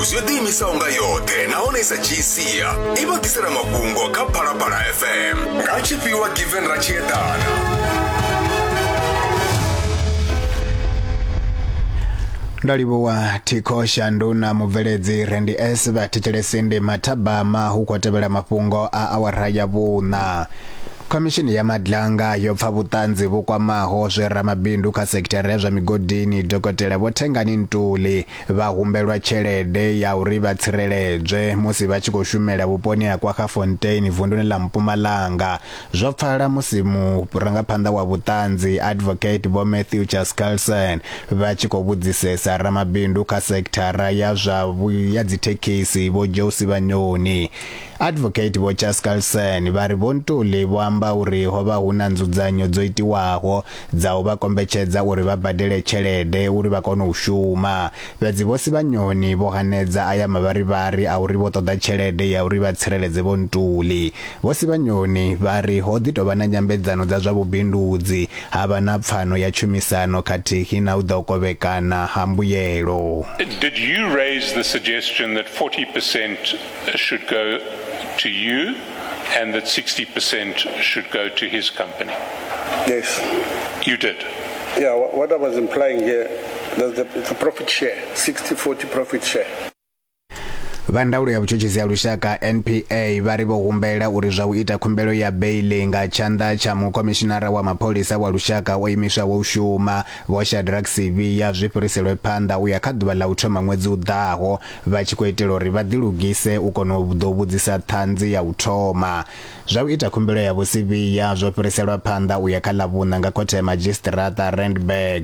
Yo ḓiimisaho nga yoṱhe nahone i sa dzhii sia i vha ḓisela mafhungo kha Phalaphala FM nga tshifhiwa Given Ratshiedana. Ndo livhuwa Thikho Shandu na mubveledzi Randy S vha thetshelesi ndi mathabama hu khou tevhela mafhungo a awara ya vhuṋa. Khomishini ya Madlanga yo pfa vhuṱanzi vhu kwamaho zwe ramabindu kha sekithara ya zwa migodini Dokotela Vho Thengani Ntuli vha humbelwa tshelede ya uri vha tsireledzwe musi vha tshi khou shumela vhuponi ha Kwaggafontein vunduni ḽa Mpumalanga. Zwo pfala musi murangaphanḓa wa vhuṱanzi Advocate Vho Matthew Chaskalson vha tshi khou vhudzisesa ramabindu kha sekithara ya zwa ya dzithekhisi Vho Joe Sibanyoni. Advocate Vho Chaskalson vha ri Vho Ntuli vho amba uri ho vha hu na nzudzanyo dzo itiwaho dza u vha kombetshedza uri vha badele tshelede uri vha kone u shuma. Fhedzi Vho Sibanyoni vho hanedza aya mavharivhari a uri vho ṱoḓa tshelede ya uri vha tsireledze Vho Ntuli. Vho Sibanyoni vha ri ho ḓi tou vha na nyambedzano dza zwa vhubindudzi, ha vha na pfano ya tshumisano khathihi na u ḓa u kovhekana ha mbuyelo. Did you raise the suggestion that 40% should go to you and that 60% should go to his company? Yes. You did? Yeah, what I was implying here, there's the, the profit share, 60-40 profit share. Vha ndaulo ya vhutshutshisi ha lushaka NPA vha ri vho humbela uri zwa u ita khumbelo ya beiḽi nga tshanḓa tsha mukhomishinara wa mapholisa wa lushaka o imiswaho u shuma Vho Shadrack Sibiya zwi fhiriselwe phanḓa u ya kha ḓuvha ḽa u thoma ṅwedzi u ḓaho vha tshi khou itela uri vha ḓilugise u kona u ḓo vhudzisa ṱhanzi ya u thoma. Zwa u ita khumbelo ya Vho Sibiya zwo fhiriselwa phanḓa u ya kha Ḽavhuṋa nga khothe ya madzhisiṱiraṱa Randburg.